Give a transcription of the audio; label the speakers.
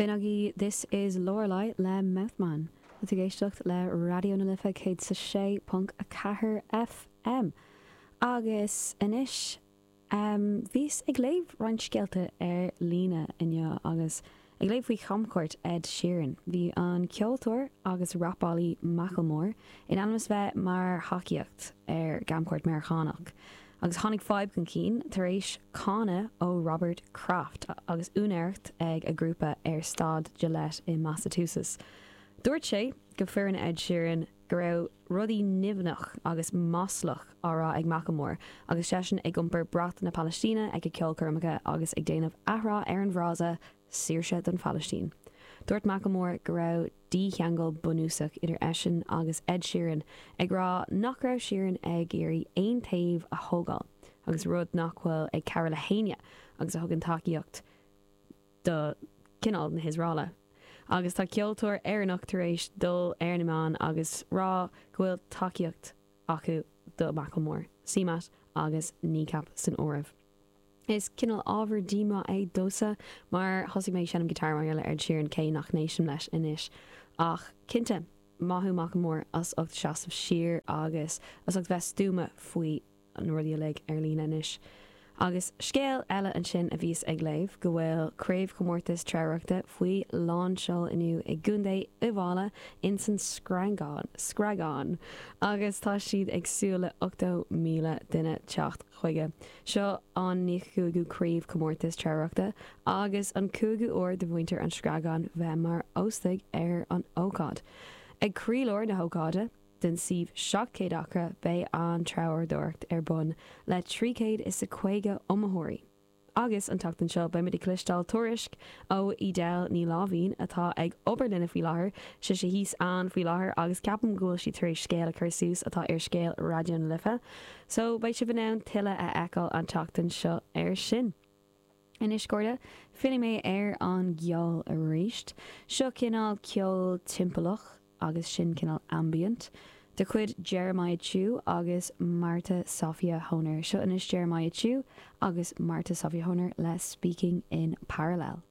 Speaker 1: B'in agaibh This Is Lorelei le Mouthman. Tá tú ag éisteacht le Raidió na Life 106.4 FM. Agus anois, bhíos ag léamh roinnt scéalta ar líne inniu agus ag léamh faoi chamchuairt Ed Sheeran. Bhí an ceoltóir agus rapálaí Macklemore in ainm is bheith mar thacaíocht ar camchuairt Meiriceánach. Agus tháinig fadhb chun cinn tar éis cáineadh ó Robert Kraft agus úinéireacht ag a ghrúpa ar Staid Gillette i Massachusetts. Dúirt sé go foireann Ed Sheeran go raibh rudaí nimhneach agus maslach á rá ag Macklemore agus seisean ag iompar brat na Palaistíne ag a ceolchoirmeacha agus ag déanamh athrá ar an bhfrása 'Saoirse don Phalaistín'. Dúirt Macklemore go raibh dícheangal bunúsach idir eisean agus Ed Sheeran, ag rá nach raibh Sheeran ag iarraidh aon taobh a thógáil, agus rud nach bhfuil ag cabhrú le héinne agus a thugann tacaíocht do cineál na hIosraeile. Agus tá ceoltóir Éireannach tar éis dul ar na meáin agus rá go bhfuil tacaíocht acu do Macklemore, CMAT agus Kneecap san áireamh. Is cineál ábhar díomá é domhsa mar thosaigh mé ag seinm guitar mar gheall ar Ed Sheeran cé nach n-éistim leis anois. Ach cinnte, maith thú Macklemore as ucht seasamh siar agus as ucht bheith stuama faoi na rudaí uilig ar líne anois. Agus scéal eile ansin a bhíos ag léamh, go bhfuil craobhchomórtas treabhaireachta faoi lánseol inniu i gContae Uíbh Fhailí ins an Screangán, Screagán, agus tá siad ag súil le 80,000 duine teacht chuige. Seo an 95ú craobhchomórtas treabhaireachta agus an cúigiú uair do mhuintir an Screagáin bheith mar óstaigh ar an ócáid. Ag croílár na hócáide, den suíomh 700 acra, beidh an treabhdóireacht ar bun le 350 iomaitheoirí. Agus an tseachtain seo beimid ag cloisteáil tuairisc ó Edel Ní Láimhín atá ag obair linne faoi láthair, sise thíos ann faoi láthair agus ceapaim go bhfuil sí tar éis scéal a chur suas atá ar scéal Raidió na Life. So beidh sibh in ann tuilleadh a fheiceáil an tseachtain seo ar sin. Anois, a chairde, fillfidh mé ar an gceol arís. Seo cineál ceol timpeallach, agus sin cineál ambient, de chuid Jeremiah Chiu agus Marta Sofia Honer. Seo anois Jeremiah Chiu agus Marta Sofia Honer le Speaking in Parallel.